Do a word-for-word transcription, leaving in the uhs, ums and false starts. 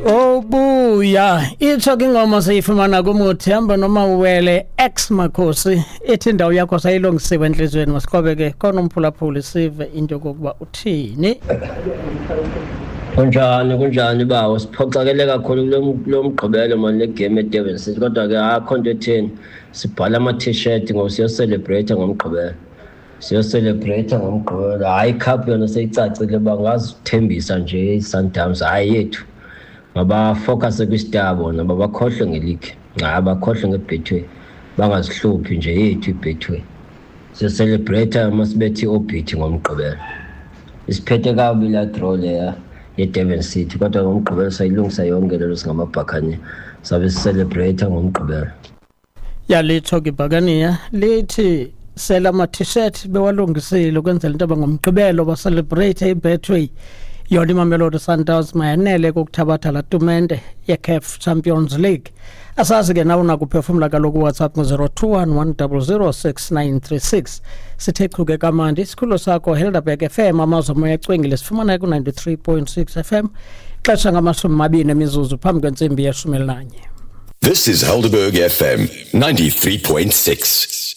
Obuya itsho ke ingoma siyifumana kuMuthemba noMawele ex Makhosi, ithi indawo yakho sayilungisiwe entliziyweni. Masiqobe ke khona umphulaphuli sive into yokokuba uthini. Kunjani, kunjani bawo? Siphoxakele kakhulu kulo mgqibelo mani, le game eDurban City, kodwa ke akho nto etheni, sibhala ama-T-shirt ngoba siyo-celebrate ngoMgqibelo, siyo-celebrate ngoMgqibelo. Hayi, icup yona seyicacile, bangazithembisa nje i-Sundowns, hayi yethu. Mabafocuse kwi-star bona, babakhohlwe nge-league, hayi, bakhohlwe nge-Betway, bangazihluphi nje, yethu i-Betway. Siyo-celebrate masibethe i-Orbit ngoMgqibelo. Isiphethe kabi la draw leya ye-Durban City, kodwa ngoMgqibelo sayilungisa yonke lelo, singamabhakhane sabe si-celebrate ngoMgqibelo. Yalitsho ke ibhakaniya lithi sela ama-T-shirt bewalungisile ukwenzela into yoba ngoMgqibelo ba-celebrate iBetway. Yona iMamelodi Sundowns mayanele kokuthabatha laa tumente ye-CAF Champions League. Asazi ke nawe unakuphefumla kaloku. WhatsApp ngo-zero two one one zero zero six nine three six. Sithe chuke kamandi isikhululo sakho Helderberg F M, amazwe moya ecwengile, sifumana ku-ninety-three point six F M. Ixesha ngamashumi mabini emizuzu phambi kwentsimbi yeshumi elinanye. This is Helderberg F M ninety-three point six.